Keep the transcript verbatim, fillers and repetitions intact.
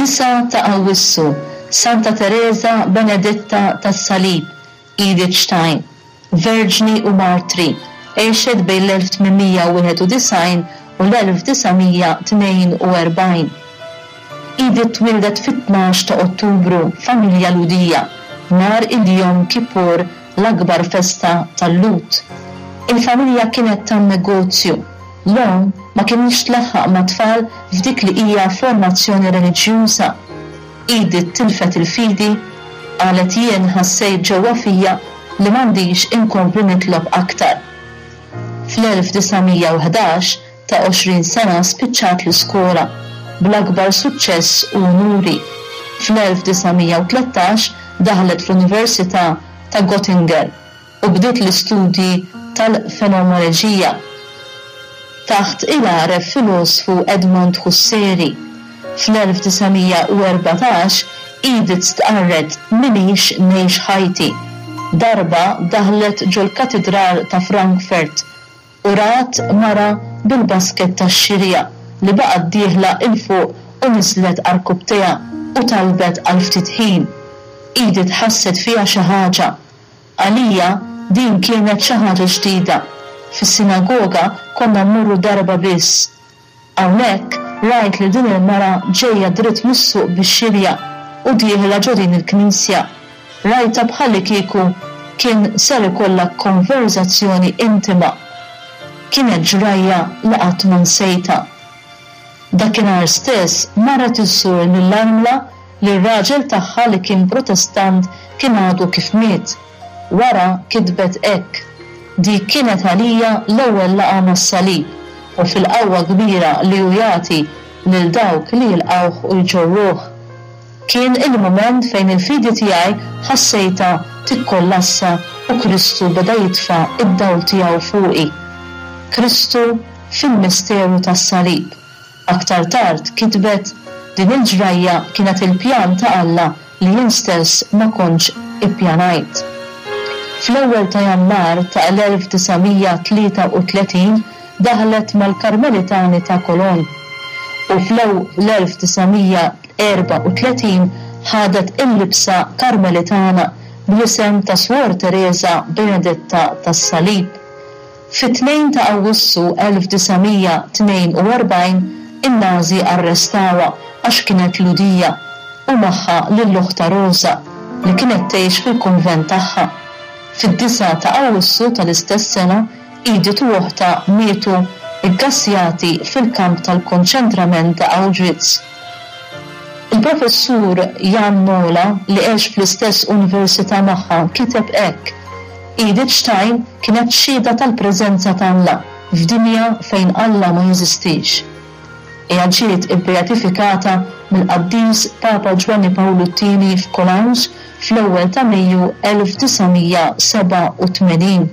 Id-disgħa ta' Awwissu, Santa Tereża Benedetta tas-Salib, Edith Stein, Verġni u Martri, għexet bejn l-elf tmien mija u wieħed u disgħin u l-elf disa' mija tnejn u erbgħin. Edith twieldet fit-tnax ta' Ottubru f'familja Lhudija, nhar il-Yom Kippur, l-akbar festa tal-Lhud. Il-familja kienet tan-negozju. L-omm ma kinitx tlaħħaq mat-tfal f'dik li hija formazzjoni reliġjuża. Edith tilfet il-fidi, qalet jien ħassejt ġewwa fija li m'għandix inkompli nitlob aktar. Fl-elf disa' mija u ħdax, ta' għoxrin sena spiċċat l-iskola, bl-akbar suċċess u unuri. Fl-elf disa' mija u tlettax daħlet fl-Università ta' Göttingen u bdiet l-istudji tal-fenomenoloġija taħt il-għaref filosfu Edmund Husserl. Fl-elf disa' mija u erbatax Edith stqarret minix ngħix ħajti. Darba daħlet ġol-Katidral ta' Frankfurt u rat mara bil-basket tax-xirja li baqgħet dieħla 'il fuq u niżlet għarkupptejha u talbet għal ftit ħin. Edith ħasset fiha xi ħaġa. Għalija din kienet xi ħaġa ġdida. Fis-sinagoga konna mmorru darba biss. Hawnhekk rajt li din il-mara ġejja dritt mis-suq bix-xirja u dieħla ġo din il-knisja. Rajta bħalli kieku kien ser ikollha konverzazzjoni intima. Kienet ġrajja li qatt ma nsejta. Dakinhar stess marret iżżur lill-armla li r-raġel tagħha li kien Protestant kien għadu kif miet. Wara kitbet hekk: Dik kienet għalija l-ewwel laqgħa mas-salib u fil-qawwa kbira li hu jagħti lil dawk li jilqgħuh u jġorruh. Kien il-mument fejn il-fidi tiegħi ħassejta tikkollassa u Kristu beda jitfa' id-dawl tiegħu fuqi. Kristu fil-misteru tas-salib. Aktar tard kitbet din il-ġrajja kienet il-pjan ta' Alla li jien stess ma kontx ippjanajt. Fl-ewwel ta' Jannar ta' l-elf disa' mija tlieta u tletin daħlet mal-Karmelitani ta' Cologne u fl-elf disa' mija erba' u tletin ħadet il-libsa Karmelitana bl-isem ta' Suor Teresa Benedetta tas-Salib. Fit-tnejn ta' Awwissu elf disa' mija tnejn u erbgħin in-Nazi arrestawha għax kienet Lhudija u magħha lil oħta Rosa li kienet tgħix fil-kunvent tagħha. Fid-disgħa ta' Awwissu tal-istess sena Edith u oħta mietu iggassjati fil-kamp tal-konċentrament ta' Auschwitz. Il-professur Jan Mola, li għex fl-istess università magħha, kiteb hekk: Edith Stein kienet xhieda tal-preżenza ta' Alla f'dinja fejn Alla ma jeżistix. Hija ġiet ibbeatifikata mill-qaddis Papa Ġwanni Pawlu t-tieni f'Cologne fl-ewwel ta' Mejju elf disa' mija seba' u tmenin.